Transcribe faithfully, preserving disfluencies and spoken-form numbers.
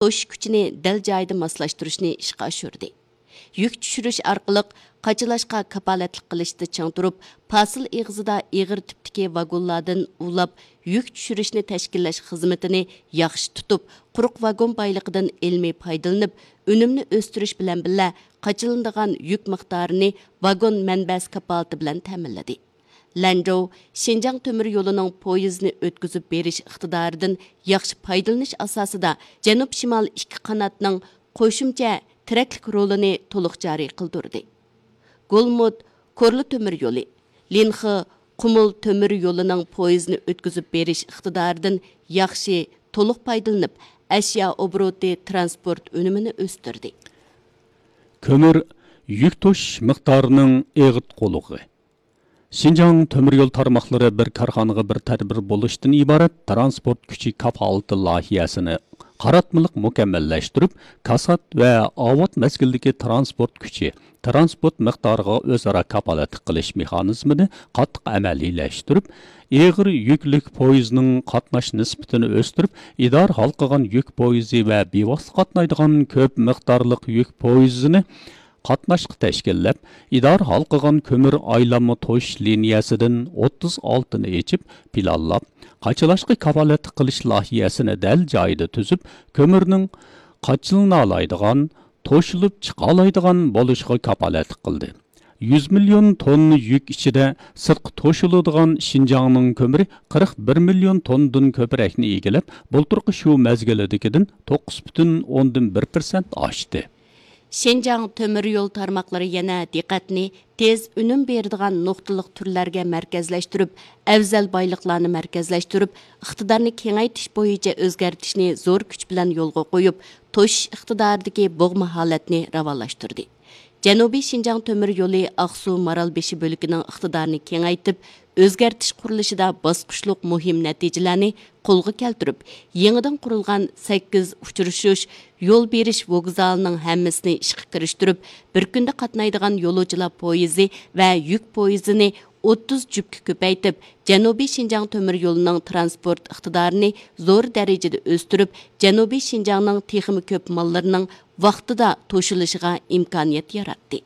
توشۇش كۈچىنى دەل جايىدا ماسلاشتۇرۇشنى ئىشقا ئاشۇردى. يۈك چۈشۈرۈش ئارقىلىق قاچىلاشقا كاپالەتلىك قىلىشتا چىڭ تۇرۇپ، پاسىل ئېغىزىدا ئېغىر تىپتىكى ۋاگونلاردىن ئۇلاپ يۈك چۈشۈرۈشنى تەشكىللەش خىزمىتىنى ياخشى تۇتۇپ، قۇرۇق ۋاگون بايلىقىدىن ئىلمىي پايدىلىنىپ، ئۈنۈمنى ئۆستۈرۈش بىلەن بىللە، قاچىلىنىدىغان يۈك مىقدارىنى ۋاگون مەنبەسى كاپالىتى بىلەن تەمىنلىدى. لەنجوۋ شىنجاڭ تۆمۈر يولىنىڭ پويىزنى ئۆتكۈزۈپ بېرىش ئىقتىدارىدىن ياخشى پايدىلىنىش ئاساسىدا، جەنۇب شىمال ئىككى قاناتنىڭ قوشۇمچە تىرەكلىك رولىنى تولۇق جارى قىلدۇردى. گولمۇت كورلا تۆمۈر يولى، لىنخې قۇمۇل تۆمۈر يولىنىڭ پويىزنى ئۆتكۈزۈپ بېرىش ئىقتىدارىدىن ياخشى، تولۇق پايدىلىنىپ، ئەشيا ئوبوروتى ترانسپورت ئۈنۈمىنى ئۆستۈردى. كۆمۈر يۈك توشۇش مىقدارىنىڭ ئېغىتقۇلۇقى. شىنجاڭ تۆمۈر يول تارماقلىرى بىر كارخانىغا بىر تەدبىر بولۇشتىن ئىبارەت تىرانسپورت كۈچى كاپالىتى لايىھەسىنى قاراتمىلىق مۇكەممەللەشتۈرۈپ، كاسات ۋە ئاۋات مەزگىلدىكى تىرانسپورت كۈچى، تىرانسپورت مىقدارىغا ئۆزئارا كاپالەتلىك قىلىش مېخانىزمىنى قاتتىق ئەمەلىيلەشتۈرۈپ، ئېغىر يۈكلۈك پويىزنىڭ قاتناش نىسبىتىنى ئۆستۈرۈپ، ئىدارە ھالقىغان يۈك پويىزى ۋە بىۋاسىتە قاتنايدىغان كۆپ مىقدارلىق يۈك پويىزىنى قاتناشقا تەشكىللەپ، ئىدارە ھالقىغان كۆمۈر ئايلانما توشۇش لىنىيەسىدىن ئوتتۇز ئالتىنى ئېچىپ پىلانلاپ، قاچىلاشقا كاپالەتلىك قىلىش لايىھەسىنى دەل جايىدا تۈزۈپ، كۆمۈرنىڭ قاچىلىنالايدىغان، توشۇلۇپ چىقالايدىغان بولۇشىغا كاپالەتلىك قىلدى. يۈز مىليون توننا يۈك ئىچىدە سىرتقا توشۇلىدىغان شىنجاڭنىڭ كۆمۈرى قىرىق بىر مىليون توننىدىن كۆپرەكنى ئىگىلەپ، بۇلتۇرقى شۇ مەزگىلىدىكىدىن توققۇز پۈتۈن ئوندىن بىر پىرسەنت ئاشتى. شىنجاڭ تۆمۈر يول تارماقلىرى يەنە دىققەتنى تېز ئۈنۈم بېرىدىغان نۇقتىلىق تۈرلەرگە مەركەزلەشتۈرۈپ، ئەۋزەل بايلىقلارنى مەركەزلەشتۈرۈپ، ئىقتىدارنى كېڭەيتىش بويىچە ئۆزگەرتىشنى زور كۈچ بىلەن يولغا قويۇپ، توشۇش ئىقتىدارىدىكى بوغما ھالەتنى راۋانلاشتۇردى. جەنۇبىي شىنجاڭ تۆمۈر يولى ئاقسۇ مارالبېشى بۆلىكىنىڭ ئىقتىدارىنى كېڭەيتىپ، ئۆزگەرتىش قۇرۇلۇشىدا باسقۇچلۇق مۇھىم نەتىجىلەرنى قولغا كەلتۈرۈپ، يېڭىدىن قۇرۇلغان سەككىز ئۇچرىشىش، يول بېرىش ۋوگزالىنىڭ ھەممىسىنى ئىشقا كىرىشتۈرۈپ، بىر كۈندە قاتنايدىغان يولۇچىلار پويىزى ۋە يۈك پويىزىنى ئوتتۇز جۈپكە كۆپەيتىپ، جەنۇبىي شىنجاڭ تۆمۈر يولىنىڭ تىرانسپورت ئىقتىدارىنى زور دەرىجىدە ئۆستۈرۈپ، جەنۇبىي شىنجاڭنىڭ تېخىمۇ كۆپ ماللىرىنىڭ ۋاقتىدا توشۇلۇشىغا ئىمكانىيەت ياراتتى.